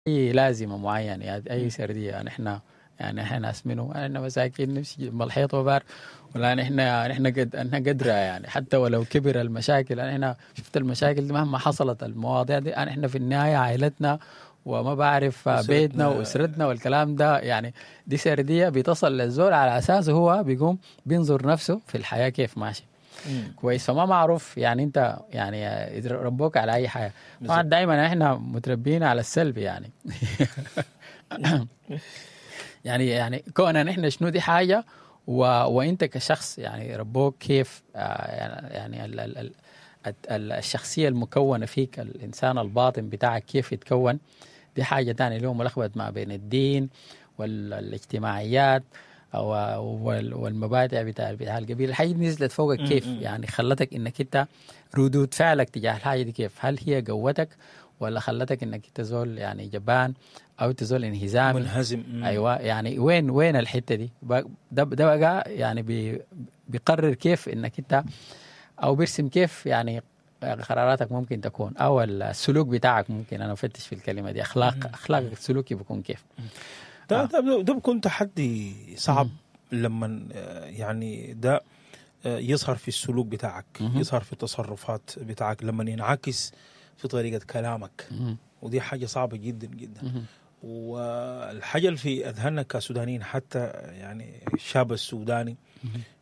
اي لازمه معينة، يعني اي سردية. نحن يعني احنا ناس منو؟ احنا مساكين نمشي جنب الحيط وبار، ولا نحن قد نحن قدرة، يعني حتى ولو كبر المشاكل، نحن شفت المشاكل دي مهما حصلت المواضيع دي، نحن في النهاية عائلتنا وما بعرف بيتنا واسرتنا والكلام ده. يعني دي سردية بتصل للزول على اساسه هو بيقوم بينظر نفسه في الحياة كيف ماشي. كويس، فما معروف يعني انت يعني ربوك على اي حاجة. طبعا دائما احنا متربيين على السلب، يعني يعني كون نحن شنو دي حاجة، وانت كشخص يعني ربوك كيف، يعني ال ال ال الشخصية المكونة فيك، الانسان الباطن بتاعك كيف يتكون، دي حاجة ثانية اللي هو ملخبط ما بين الدين والاجتماعيات والمبادئ بتاع القبيلة. الحاجة دي نزلت فوقك كيف؟ يعني خلتك انك انت ردود فعلك تجاه الحاجة دي كيف؟ هل هي قوتك ولا خلتك انك انت زول يعني جبان او انت زول انهزامي منهزم؟ ايوه، يعني وين الحتة دي؟ ده بقى يعني بيقرر كيف انك انت، او بيرسم كيف يعني قراراتك ممكن تكون، او السلوك بتاعك ممكن. انا افتش في الكلمة دي، اخلاقك السلوكي بيكون كيف. ده بيكون تحدي صعب لما يعني ده يظهر في السلوك بتاعك، يظهر في التصرفات بتاعك، لما ينعكس في طريقة كلامك. ودي حاجة صعبة جدا جدا. والحاجة اللي في أذهاننا كسودانيين، حتى يعني الشاب السوداني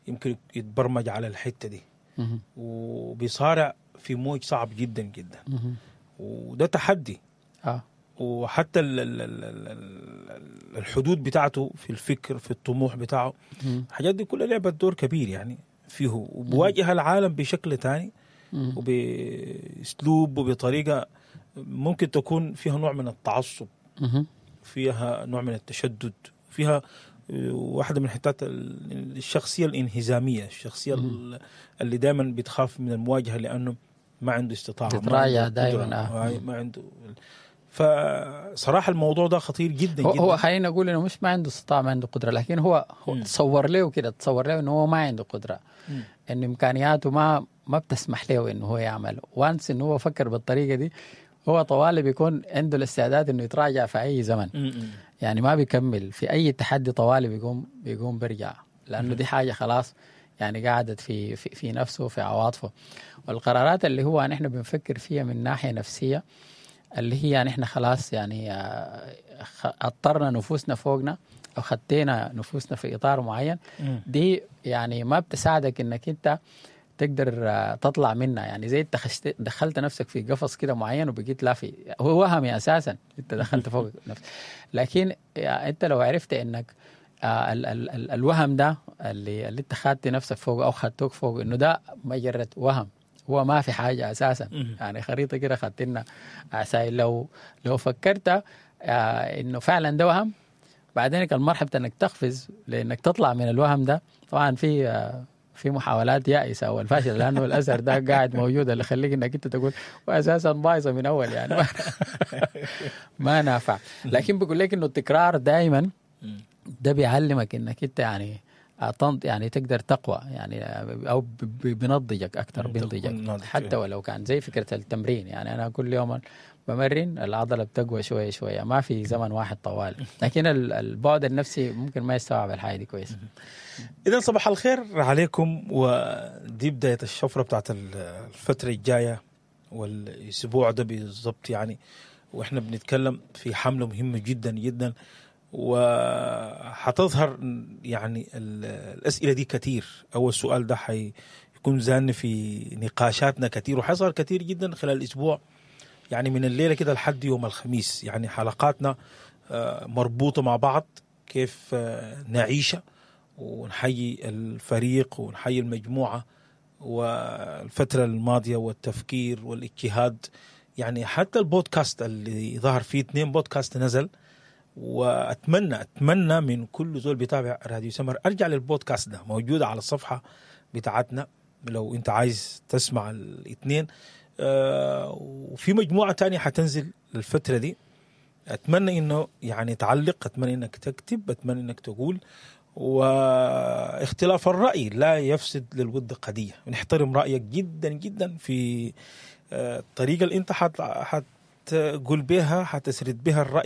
يمكن يتبرمج على الحتة دي، وبيصارع في موج صعب جدا جدا. وده تحدي. وحتى الحدود بتاعته في الفكر، في الطموح بتاعه، الحاجات دي كلها لعبت دور كبير يعني فيه، وبواجه العالم بشكل تاني وبأسلوب وبطريقة ممكن تكون فيها نوع من التعصب، فيها نوع من التشدد، فيها واحدة من حتات الشخصية الانهزامية، الشخصية اللي دائما بتخاف من المواجهة لأنه ما عنده استطاعة، تتراجع دائما، ما عنده. فصراحة الموضوع ده خطير جدا جدا. هو خلينا نقول انه مش ما عنده استطاعة، ما عنده قدرة، لكن هو تصور له كده، تصور له انه هو ما عنده قدرة، ان امكانياته ما بتسمح له انه هو يعمل. وانس انه هو فكر بالطريقة دي، هو طوالي بيكون عنده الاستعداد انه يتراجع في اي زمن. يعني ما بيكمل في اي تحدي، طوالي بيقوم بيرجع، لانه دي حاجة خلاص يعني قعدت في في, في نفسه، في عواطفه. والقرارات اللي هو نحن بنفكر فيها من ناحية نفسية، اللي هي نحن خلاص يعني اضطرنا نفوسنا فوقنا او خدينا نفوسنا في اطار معين، دي يعني ما بتساعدك انك انت تقدر تطلع منها. يعني زي انت دخلت نفسك في قفص كده معين وبقيت لافي، هو وهمي اساسا، انت دخلت فوق نفسك. لكن انت لو عرفت انك ال ال ال الوهم ده اللي انت خدت نفسك فوق او خدتوك فوق، انه ده مجرد وهم، هو ما في حاجة أساسا. يعني خريطة كده خدتنا عساي. لو فكرت إنه فعلا ده وهم، بعدين المرحلة إنك تقفز لإنك تطلع من الوهم ده. طبعا في محاولات يائسة أو الفاشلة، لأنه الأثر ده قاعد موجود اللي يخليك إنك أنت تقول وأساسا بايظة من أول، يعني ما نافع. لكن بقول لك إنه التكرار دائما ده بيعلمك إنك أنت يعني يعني تقدر تقوى، يعني او بنضجك اكثر، بنضجك حتى ولو كان زي فكرة التمرين. يعني انا كل يوم بمرن العضلة بتقوى شوية شوية، ما في زمن واحد طوال. لكن البعد النفسي ممكن ما يستوعب الحاجة دي كويس. اذا صباح الخير عليكم، ودي بداية الشفرة بتاعت الفترة الجاية والاسبوع ده بالضبط يعني، واحنا بنتكلم في حمله مهمة جدا جدا، وحتظهر يعني الأسئلة دي كتير. أول سؤال ده حيكون زان في نقاشاتنا كتير، وحيظهر كتير جدا خلال الأسبوع، يعني من الليلة كده لحد يوم الخميس. يعني حلقاتنا مربوطة مع بعض، كيف نعيشها، ونحيي الفريق ونحيي المجموعة والفترة الماضية والتفكير والاجتهاد. يعني حتى البودكاست اللي ظهر فيه 2 بودكاست نزل، واتمنى من كل زول بيتابع راديو سمر ارجع للبودكاست ده، موجود على الصفحة بتاعتنا لو انت عايز تسمع الاثنين. وفي مجموعة تانية حتنزل الفترة دي. اتمنى انه يعني تعلق، اتمنى انك تكتب، اتمنى انك تقول. واختلاف الراي لا يفسد للود قضية، نحترم رايك جدا جدا في الطريقة اللي انت حتقول بها، حتسرد بها الرأي.